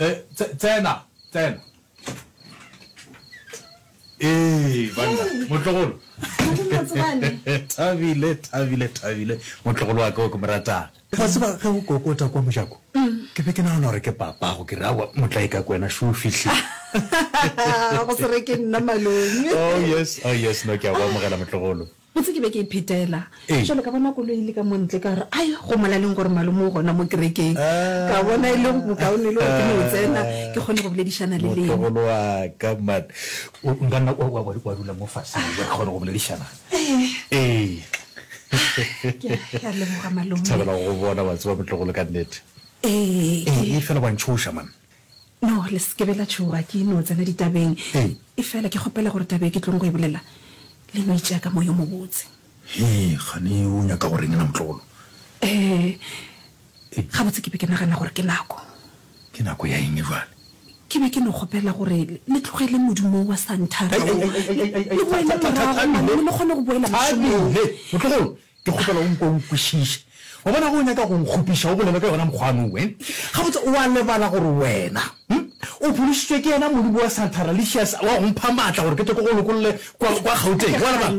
Eh, tsena, tsena. Ee, banna, motlogolo. Thabile, thabile, thabile, motlogolo wa ka o ke mo ratang. Wa tseba, ge o kokota kwa mojako, ke be ke nagana gore ke papago, ke re, aowa, motlae ka kwena, šo o fihlile. Go se re ke nna malome. Oh yes, oh yes, no, ke a go amogela, motlogolo. Botse ke be ke iphetela. Jwale ka bona koloi e le ka mo ntle, ka re, Ai, go molaleng gore malome o gona mo kerekeng. Ka bona e le bokaone e le gore ke no tsena, ke kgone go boledišana le lena. Motlogolo wa ka, man. O nka nna wa, wa, wa dula mo fase, re kgone go boledišana. Ee. Ke a leboga, malome. Ke thabela go go bona, wa tseba, motlogolo, ka nnete. Ee. Ee, efela wa ntšhoša, man. No, le se ke be la tšhoga, ke no tsena ditabeng. Efela ke kgopela gore taba e ke tlong go e bolela le no e tšea ka moya o mobotse. Hee, kgane o nyaka go reng na motlogolo? Ee, gabotse ke be ke nagana gore ke nako. Ke nako ya eng bjale? Ke be ke no kgopela gore le tlogele modumo wa santhara wo, le boele morago, malome, le kgone go boela mošomong. Thabile, motlogolo, Ke kgopela o nko o nkwešiše. Wa bona ge o nyaka go nkgopiša o bolele ka yona mokgwa wo, eh? Gabotse o a lebala gore wena, hm, o phološitšwe ke yena Modimo wa Santharalicious wa go mpha maatla gore ke tle ke go lokolle kwa, kwa Gauteng. O a lebala?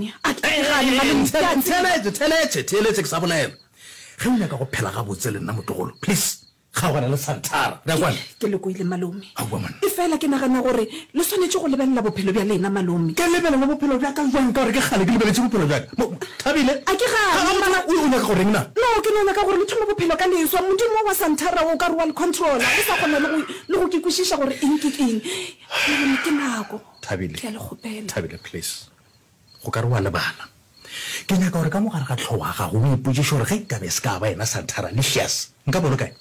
Ntheeletše, theeletše, theeletše ke sa bolela. Ge o nyaka go phela gabotse le nna motlogolo, please, Kgaogana le Santara. Re a kwana? Ke le kwele, malome. Aowa, man. Efela ke nagana gore le swanetše go lebelela bophelo bja lena, malome. Ke lebelele bophelo bja ka bjang ka gore ke kgale ke lebeletše bophelo bja ka? Mo, Thabile. A ke gane, mara. O, o nyaka go reng na? No, ke no nyaka gore le thome bophelo ka leswa. Modimo wa Santara o ka re wa le controla. Le sa kgona le go, le go ke kwešiša gore eng ke eng. Malome, ke nako. Thabile. Ke a le kgopela. Thabile, please. Go ka re o a lebala. Ke nyaka gore ka mo gare ga hlogo ya gago o ipotšiše gore ge nkabe e se ka ba yena Santara Licious, nkabe o le kae?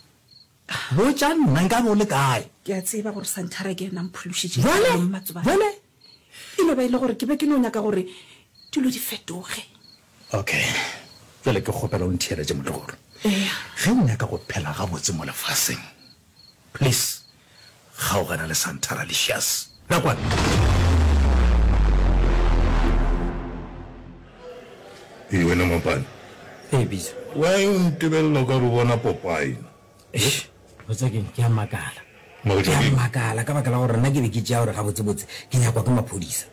Botša nna, nkabe o le kae? Ke a tseba gore Santara ke yena a mphološitšego Bjale? bophelong, Matsobane. Bjale? E no ba e le gore ke be ke no nyaka gore dilo di fetoge. Okay. Bjale ke kgopela o ntheeletše, motlogolo. Eya. Ge o nyaka go phela gabotse mo lefaseng, Please kgaogana le Santaralicious. Ra kwana? Ee wena Mapane. Ee Bisa. Why o ntebelela o ka re o bona Popeye na? Eish, botsa keng, ke a makala. Makatšwa Ke a keng? makala ka baka la gore nna ke be ke tšea gore gabotsebotse ke nyakwa ke maphodisa.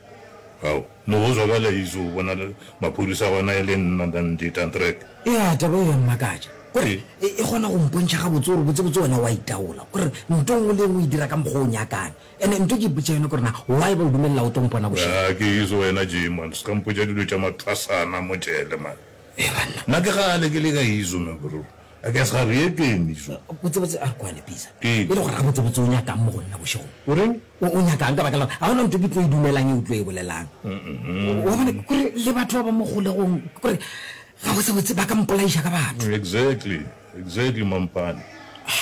Ao, no go zwa bjale Iso o bona maphodisa gona e le nna than Ditantrek. Ea, taba eo ya mmakatša. Kore e, e kgona go mpontšha gabotse gore botsebotse wena o a itaola. Kore nto nngwe le nngwe o e dira ka mokgwa o nyakang. And-e nto ke ipotša yona kore na why ba o dumelela o tlo mpona bošego? Aa, ke Iso wena Jay man, se ka mpotša dilo tša mathwasana mo jele man. Ee banna. Nna ke kgale ke le ka Iso man bro. A ke sa re keng Iso. Botsebotse a re kwane Pizza. Keng? E le gore gabotsebotse o nyakang mo go nna bošegong? O reng? O, o nyakang ka baka la gore ga gona nto ke tlo e dumelang e o tlo e bolelang. Wa bona, kore le batho ba ba mo kgolegong, kore Gabotsebotse ba ka mpolaiša ka batho. Exactly, exactly Mampane.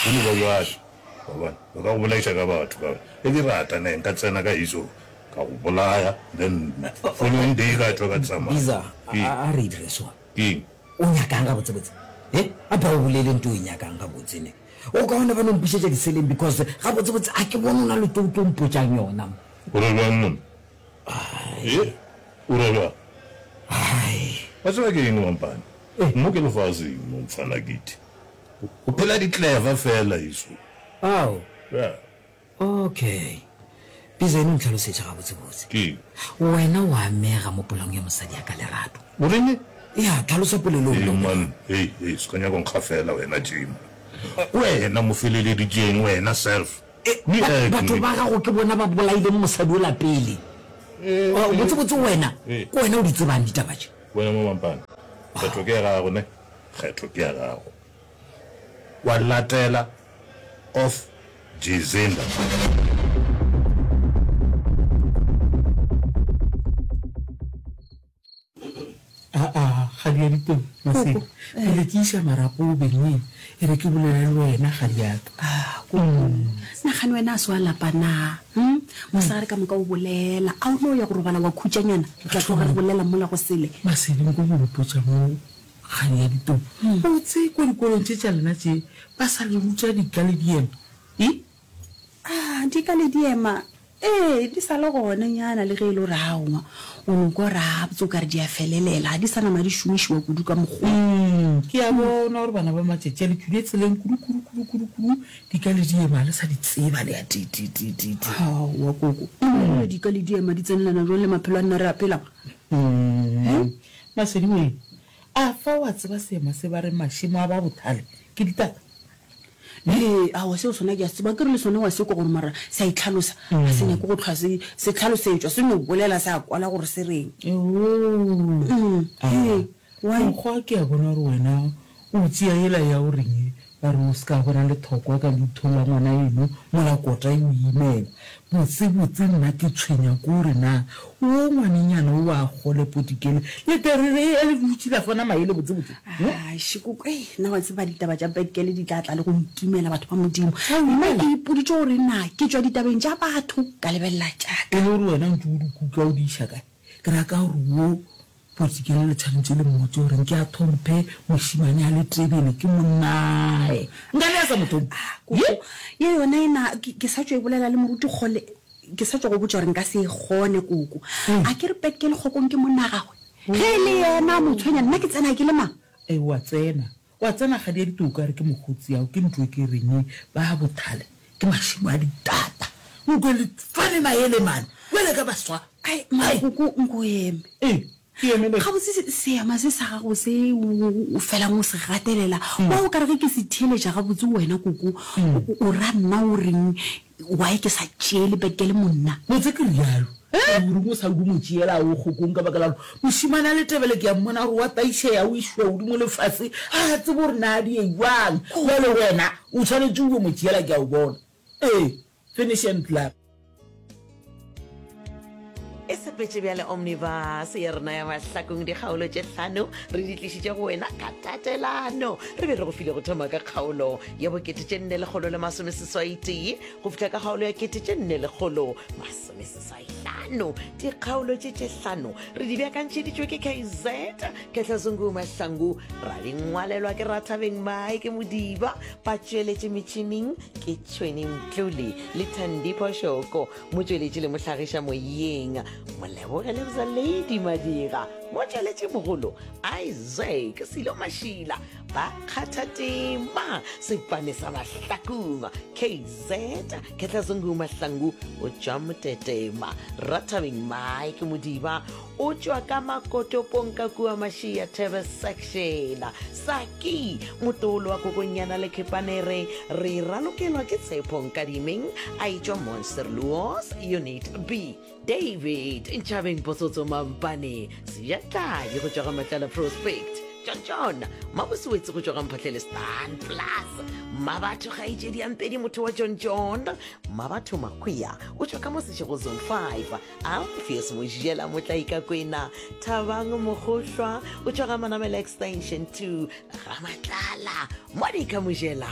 Go no ba bjalo. Wa bona? Ba ka go bolaiša ka batho ka gore ge ke rata ne nka tsena ka iso ka go bolaya then following day ka tšwa ka tsamaya. Biza, Keng? a re e dire so. Keng? O nyakang gabotsebotse? He? A ba o bolele nto o e nyakang gabotse ne. O kaone ba no mpušetša diseleng because gabotsebotse a ke bone o na le tlo o tlo mpotšang yona. O re bjang monna? He? O ra bjang? Wa tseba ke eng, Mampane? Mo ke lefaseng mo, mfana Kitty. Go phela di-clever fela, eso. Ao. Yeah. Okay. Biza eno ntlhalosetše gabotsebotse. Ke eng? Wena o amega mo polaong ya mosadi ya ka Lerato. O reng? Ya, tlhalosa polelo Hey, man. Hey, hey, se ka nyaka go nkgafela wena, Jim. Wena mo feleleditšeng, wena self. Batho ba gago ke bona ba bolaileng mosadi ola pele. Botsebotse wena, ke wena o di tsebang ditaba tše. Wena mo Mampane, kgetho ke ya gago ne, kgetho ke ya gago. Wa latela off Jezinda. Aa, kgadi ya diteng, Masedi, Koko, eh. pele ke iša marapo bengeng, e re ke bolele le wena, kgadi ya ka. Ah, koko, nagane wena a se wa lapa na? Hm? Mosegare ka moka o bolela, a o no ya go robala wa khutšanyana? Re tla tloga re bolela mola go sele. Masedi, nko go mpotša mo, kgadi ya diteng, botse kwa dikolong tše tša lena tše ba sa le ruta dika le diema, e? Ah, dika le diema. Ee, di sa le gona nyana le ge e le gore aowa o no kwa gore a botse o ka re di a felelela, ga di sa nama di šomišiwa kudu ka mokgwa wo. Ke a bona gore bana ba matšatši a le tšwile tseleng kudu kudu kudu kudu kudu, dika le diema le sa di tseba le ya ti ti ti ti ti. Aowa koko, o bona dika le diema di tsenelana jwang le maphelo a nna re a phelang? He? Masedi wee, a fa wa tseba seema se ba reng mašemo a ba bothale ke ditata? Ee, aowa seo sona ke a se tseba. Akere le sona wa se kwa gore mara se a itlhalosa, ga se nyake go hlwa se se hlalosetšwa, se no bolela sa kwala gore se reng. Ewoo, Ee, why? Mokgwa ke a bona gore wena o tšea yela ya o reng ba re o se ka bona lethokwa ka leitho la ngwana eno mola kota e o imela. Botse botse nna ke tshwenya ke gore na wo ngwanenyana o wa kgole potikele le terere e le dutše la fana maele botse botse. Aish koko ei nna wa tseba ditaba tša bad girl di tla tla le go nkimela batho ba Modimo. Nna ke ipoditše gore na ke tšwa ditabeng tša batho ka lebelela tša ka. E le gore wena ntše o di kuka o di iša kae? Ke ra ka gore wo Potikele le tshwanetše le mmotše gore nke a thomphe mošemane a le tebele ke monnae. Nka be a sa mo thomphe. Ah, koko, ye yona e na, ke, ke sa tšo e bolela le moruti kgole, ke sa tšo go botša gore nka se e kgone, koko. A ke re Petkele Kgokong ke monna gagwe? Ge e le yena a mo tshwenya, nna ke tsena ke le mang? Ee, o a tsena. Wa tsena kgadi ya ditou ka re ke mokgotsi ao ke ntlo e ke reng ba bothale ke mašemo a ditata nkwe le fane maele mane bjale ka baswa. Ai makoko nko eme. Ee ke emele. Gabotse seema se sa gago se o felang o se gatelela wa o kare ge ke se theeletša gabotse wena koko o ra nna o reng Why ke sa tšeele Bekele monna? Botse ke realo. O reng o sa o mo tšeela o kgokong ka baka la gore mošemane a Letebele ke a mmona gore wa taišega o išwa godimo le fase ga a tsebe gore na di ye bjang. Bjale wena o tshwanetše o yo mo tšeela ke a o bona. Ee, finish and klaar. E sepetše bjale Omnibus ya rena ya mahlakong dikgaolo tše hlano re di tlišitše go wena ka tatelano. Re be re go file go thoma ka kgaolo ya bokete tše nne lekgolo le masomeseswai tee go fihla ka kgaolo ya kete tše nne lekgolo masomeseswai hlano. Dikgaolo tše tše hlano re di beakantšheditšwe ke KZ Ketlazungu Mahlangu, ra di ngwalelwa ke Rathabeng Mike Modiba, ba tšweletše metšhineng ke Tšhweni Mtlole le Thandi Phoshoko. Motšweletši le mohlagiša moyeng Moleboge Lebza Lady Madira, motšweletši mogolo Isaac Silo Mašila, ba kgatha tema sepane sa Mahlakung KZ Ketlazungu Mahlangu o tšwa Motetema, Rathabeng Mike Modiba o tšwa ka Makotopong ka kua Mašia Thebe Section, Saki motolo wa Kokonyana le Khepanere re ralokelwa ke Tshepo Nkadimeng a etšwa Monsterluos Unit B, David Ntšhabeng Potsotso Mampane Sejatladi go tšwa ga Matlala Prospect, John John Mabosewetse go tšwa ga Mphahlele Stan Plus, Mmabatho kgaetšedi ya Mpedi motho wa John John, Mmabatho Makhwiya o tšwa ka mo Seshego Zone 5, Alpheus Mojela Motlaikakwena, Thabang Mogohlwa o tšwa ga Manamela Extension 2, ga Matlala, Monica Mojela,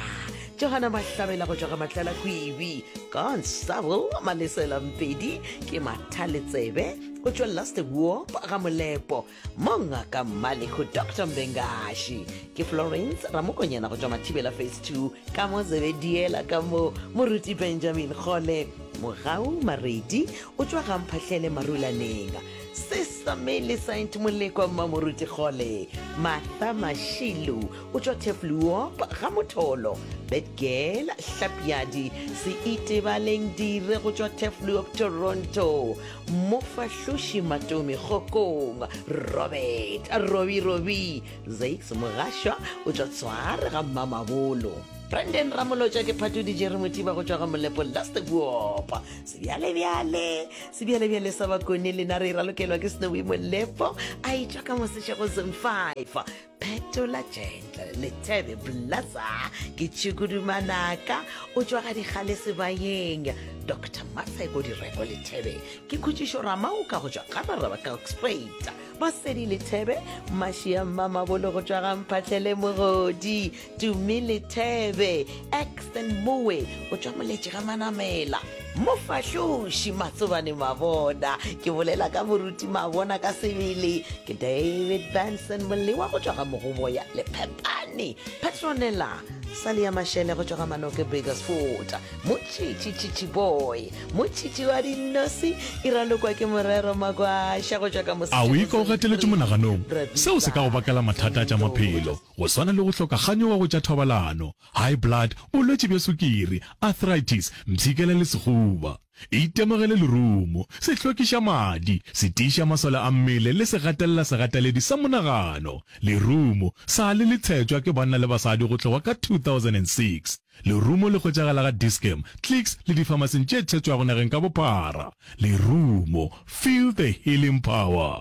Johana Mahlabela go tšwa ga Matlala Kwibi, Constable Malesela Mpedi ke Mathaletsebe o tšwa Last Warp ga Molepo, Mongaka Mmaleko Dr Mbengashi ke Florence Ramokonyana go tšwa Mathibela Phase 2 ka mo Zebediela ka mo Moruti Benjamin Kgole Mogau Maredi o tšwa ga Mphahlele Marulaneng Sister Millicent Molekwa Mmamoruti Kgole Martha Mashilu o tšwa Tefluop ga Motholo Betgirl Hlapiadi Seitebaleng Dire go tšwa Tefluop Toronto Mofahloši Matomi Kgokong, Robert Robi Robi, Zakes Mogašwa o tšwa Tshware ga Mmamabolo. Brandon Ramolotša ke Phatudi Jerry Mothiba go tšwa ga Molepo Last Boop. Sebjalebjale, sebjalebjale sa Bakone lena re ralokelwa ke Snowy Molepo a etšwa ka Mosešego Zone 5. Phetola Gentle Lethebe Blaza ke Tšhukudumanaka o tšwa ga Dikgale Sebayeng. Doctor Maseko Direko Lethebe ke Khutšišo Ramaoka go tšwa Ga-Raraba Kalkspruit. Masedi Lethebe Mašia Mmamabolo go tšwa ga Mphahlele Mogodi. Tumi Lethebe Exton Mowe o tšwa Moletši ga Manamela. Mofahloši Matsobane Mabona, ke bolela ka moruti Mabona ka sebele, ke David Benson Molewa go tšwa ga Mogoboya Lephepane, Petronella. Sally ya Mashele go tšwa ga Manoke Burgersfort, Motšhitšhi Tšhitšhi Boy, Motšhitšhi wa Dinnosi, e ralokwa ke Morero Magwaša go tšwa ka A o ikwa o gateletšwe monaganong? Seo se ka go bakela mathata a tša maphelo, go swana le go hloka kganyogo go tša thobalano, high blood, bolwetši bja sukiri, arthritis, mpshikela le sehuba. Itemogele lerumo, se hlwekiša madi, se tiiša masole a mmele le se gatelela segateledi sa monagano. Lerumo sa le le tshetšwa ke banna le basadi go tloga ka 2006. Lerumo le hwetšagala ga Dis-Chem, Clicks le difamasing tše tshetšwago nageng ka bophara. Lerumo, feel the healing power.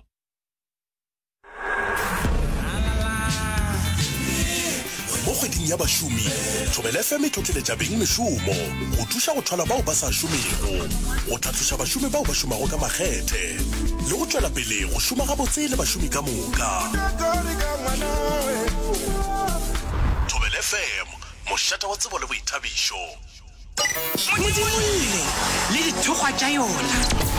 Mo kgweding ya bašomi, Thobela FM e tlotleletša beng mešomo go thuša go thwala bao ba sa šomego, go tlhatloša bašomi bao ba šomago ka makgethe le go tšwela pele go šoma gabotse le bašomi ka moka. Thobela FM, mošate wa tsebo le boithabišo. Modimolle le dithokgwa tša yona.